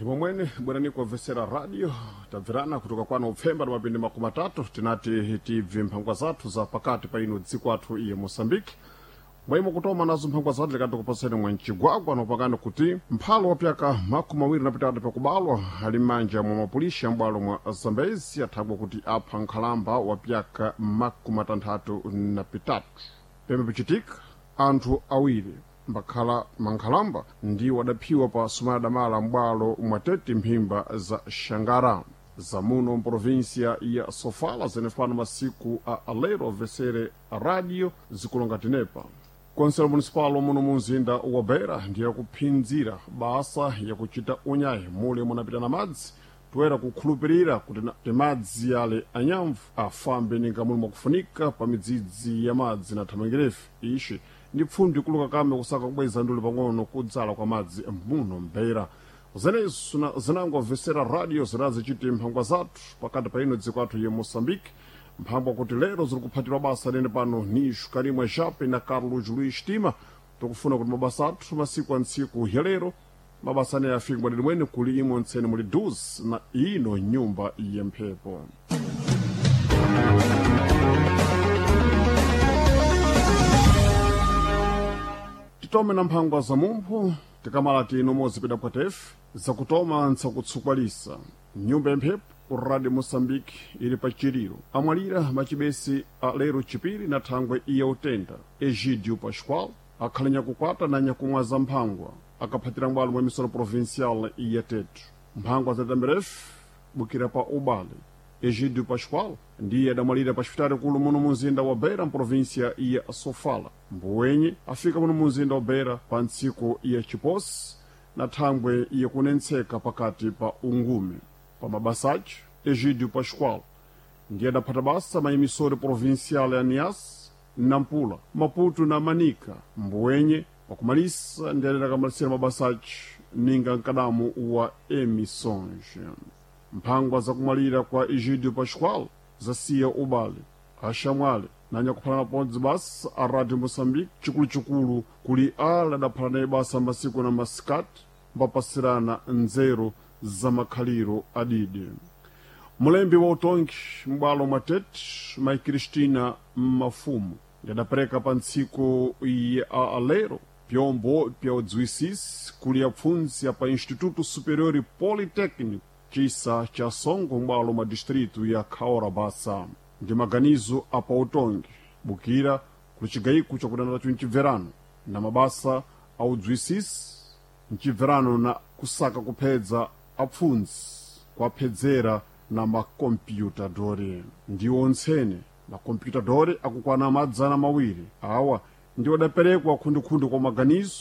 Ndimo mwene bwerani kuobvesera radio tabverana kutoka kwano upfemba na mapindi 30 tinati tibve mphangwa zathu za pakati pa ino dziko athu iye Moçambique. Mwaimo kutoma nazo mphangwa zathu likati kupaseni mwa mcigwagwa nopakani kuti mphalo wapyaka 23 pakubalwa ali m'manja mwa mapulishi ambwalo mwa Zambezi athagwa kuti apha nkhalamba wapyaka 63. Pembe pichitika anthu awiri mbakhala mankhalamba ndiwo adaphiwa pa sumana damala m'bwalo mwatete mphimba za Xangara zamuno mprovinsia ya Sofala zenefano masiku a alero obvesere radio zikulonga tenepa. Konselo municipal muno mu mzinda wa Beira ndiye kuphinzira basa yakuchita unyayi mule munapita na madzi toera kukhulupirira kuti timadzi yale anyamvu afambe ninga muli mwakufunika pa midzidzi ya madzi na thamangirefe. Ixi ndi pfundi kuluka kame kusaka kubweza nduli pang'ono kudzala kwa madzi muno mbeira. Zenezo zinangobvesera radio zirazichiti mphangwa zathu pakati pa ino dziko athu ye Moçambique, mphangwa kuti lero ziri kuphatirwa basa nene pano nixo Karimwa Jape na Carlos Luís Tima tikufuna kuti mabasa athu masiku a ntsiku ya lero mabasa ane afike mwadidi mwene kuli imwe ntsene muli 12 na ino nyumba yemphepo. Titome na mphangwa za mumphu tikamala tino mozipita pwatefe zakutoma ntsakutsukwalisa nyumba yamphepo ku Radio Moçambique ili pa chiliro amwalira macibesi a lero chipiri na thangwe iya utenda Egidio Pascoal akhale nyakukwata na nyakumwa za mphangwa akaphatira mbwalo mwa misolo provincial iya Tetu. Mphangwa za tamberefe bukira pa ubale Egidio Pascoal ndiye adamwalira pa xipitali kulu muno mu mzinda wa Beira mprovinsia ya Sofala. Mbuwenye afika muno mu mzinda wa Beira pa ntsiku ya chiposi na thangwe yakunentseka pakati pa ungume. Pa mabasachi Egidio Pascoal ndiye adaphata basa mayimisori provincial ya Niassa, Nampula, Maputo na Manica. Mbuwenye pakumalisa ndiye adakamalisira mabasachi ninga mkadamu wa emissões. Mphangwa zakumwalira kwa Egidio Pascoal zasiya ubale axamwale na nyakuphalana pondzi basa a Radio Moçambique chikuluchikulu kuli ala adaphalana naye basa masiku na masikati mbapasirana nzeru za makhaliro adidi. Mulembi wa utongi m'bwalo mwa Tete mai Cristina Mafumo yadapereka pa ntsiku ya alero pyombo pya udziwisisi kuli apfundzi apa Instituto Superior Politécnico cisa cha Songo m'bwalo mwa distrito ya Kaora Bassa. Ndi maganizo apa utongi bukira kuli cigayiko cakudana taco mcibverano na mabasa a udziwisisi mcibverano na kusaka kuphedza apfundzi kuaphedzera na makompyutadori. Ndiwo ntsene makompyutadori akukwana 200 awa ndiwo adaperekwa khundikhundi kwa maganizo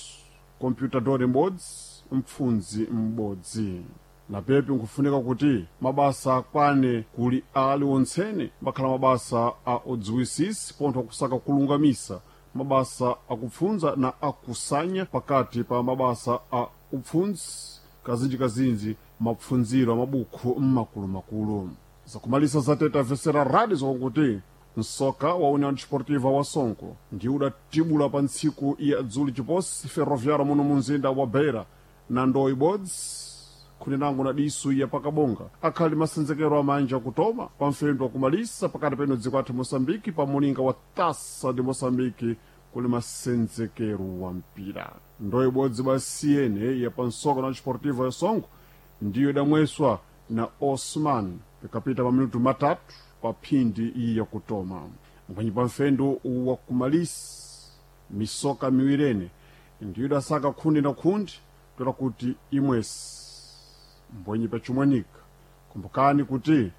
kompyutadori m'bodzi mpfundzi m'bodzi. Na pepi nkufunika kuti mabasa akwane kuli ali ontsene makhala mabasa a udziwisisi pontho akusaka kulungamisa mabasa akupfundza na akusanya pakati pa mabasa a upfundzi kazinjikazinji mapfundziro amabukhu mmakulumakulu. Zakumalisa zatete avesera radio zakuti msoka wa União Desportiva wa Songo ndiwo udatibula pa ntsiku ya dzuli chiposi ferroviário muno mu mzinda wa Beira na ndoo ibodzi khuninango na disu ya pakabonga akhali masenzekero amanja kutoma pa mfendo wakumalisa pakati peno dziko athu Moçambique pa mulinga wa Taça de Moçambique kuli masenzekero wa mpira. Ndoo ibodzi basiyene ya pansoka na Desportiva ya Songo ndiyo idamweswa na Osman pikapita pa minutu 3 pa phindi iyi yakutoma. Mphanyi pa mfendo wakumalisa misoka miwirene ndiyo idasaka khundi na khundi tola kuti imwesi mbwenyi pachimwanika. Kumbukani kuti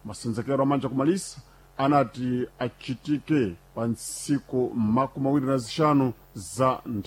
masenzekero amanja kumalisa anati achitike pa ntsiku 25 za nthani.